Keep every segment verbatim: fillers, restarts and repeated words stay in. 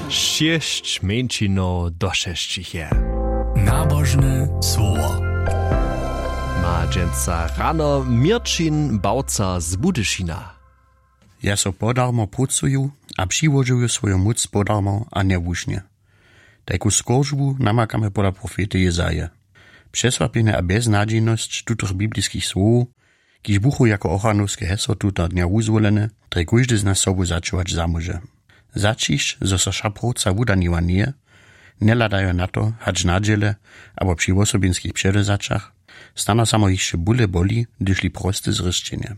Šěsć mjeńšinow došesćich je. Nabožne słowo. Ma dźensa rano Měrćin Bałca z Budyšina. Ja so podarmo prócuju a přiłožuju swoju móc podarmo a njewušnje. Tajku skóržbu namakamy pola profety Jezaje. Přesłapjenje a bjeznadźejnosć tutych bibliskich słowow, kiž buchu jako ochranowske hesło tuta dnja wuzwolene, drje kóždy z nas sobu začuwać zamóže. Zaćišć, zo so wša próca wudaniła njeje, njehladajo na to, hač na dźěle abo při wosobinskich předewzaćach, snano samo hišće bóle boli, hdyž li proste zrěšćenje.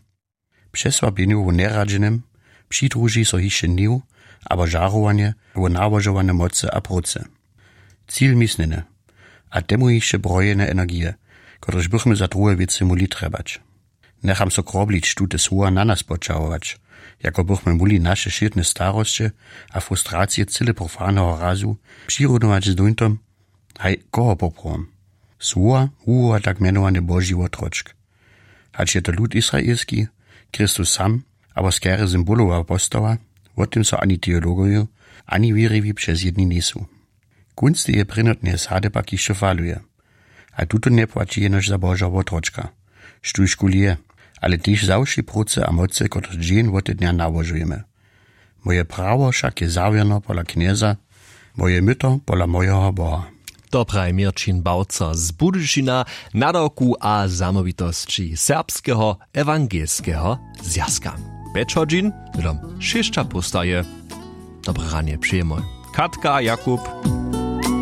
Přesłapjenju wo njeradźenym přidruži so hišće hněw abo žarowanje wo nałožowane mocy a prócy. Cil misnjene, a temu hišće brojene energije, kotrež bychmy za druhe wěcy móhli trjebać. Njecham so kroblić tute słowa na nas poćahować, jako bychmy móhli naše wšědne starosće a frustracije cyle profaneho razu přirunować z dóńtom, haj, koho poprawom? Słowa wuwoła tak mjenowany Boži wotročk. Hač je to lud israelski, Chrystus sam, abo skerje symbolowa postawa, wo tym so ani teologoju, ani wěriwi přezjedni njejsu. Kónc teje prěnotneje sady pak hišće faluje. A tuto njepłaći jenož za Božeho wotročka, štóž kuli je, ale tež za wšej prócy a mocy, kotrež dźeń wotednja nałožujemy. Moje prawo wšak je zawěrno pola Knjeza, moje myto pola mojeho Boha. To praji Měrćin Bałca z Budyšina, nadawku a zamołwitosći Serbskeho ewangelskeho zwjazka. Pjeć hodźin, hnydom šěsća póstaje. Dobre ranje přejemy Katka a Jakub.